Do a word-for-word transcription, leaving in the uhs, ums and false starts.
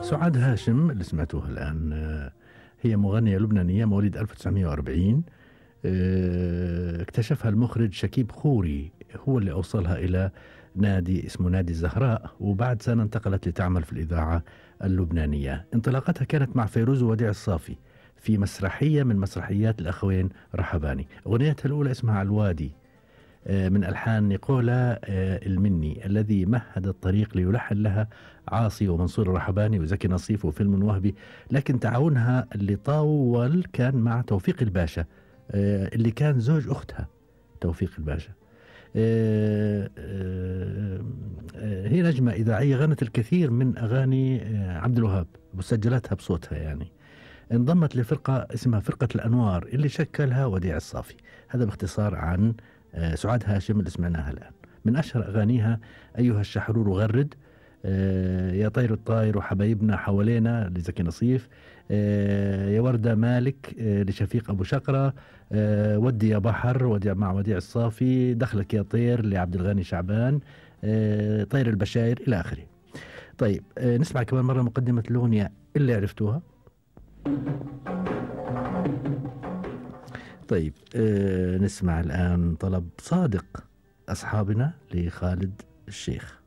سعاد هاشم اللي سمعتوها الآن هي مغنية لبنانية مواليد ألف وتسعمائة وأربعين. اكتشفها المخرج شكيب خوري، هو اللي أوصلها إلى نادي اسمه نادي الزهراء، وبعد سنة انتقلت لتعمل في الإذاعة اللبنانية. انطلاقتها كانت مع فيروز ووديع الصافي في مسرحية من مسرحيات الأخوين رحباني. أغنيتها الأولى اسمها الوادي من ألحان نيقولا المني الذي مهد الطريق ليلحن لها عاصي ومنصور الرحباني وزكي نصيف وفيلم وهبي، لكن تعاونها اللي طول كان مع توفيق الباشا اللي كان زوج أختها توفيق الباشا. هي نجمة إذاعية غنت الكثير من أغاني عبد الوهاب وسجلتها بصوتها يعني. انضمت لفرقة اسمها فرقة الأنوار اللي شكلها وديع الصافي. هذا باختصار عن سعاد هاشم اللي سمعناها الآن. من أشهر أغانيها أيها الشحرور غرد، يا طير الطاير وحبايبنا حوالينا لزكي نصيف، يا وردة مالك لشفيق أبو شقرة، ودي يا بحر ودي مع وديع الصافي، دخلك يا طير لعبد الغني شعبان، طير البشاير إلى آخره. طيب نسمع كمان مرة مقدمة الأغنية اللي عرفتوها. طيب نسمع الآن طلب صادق أصحابنا لخالد الشيخ.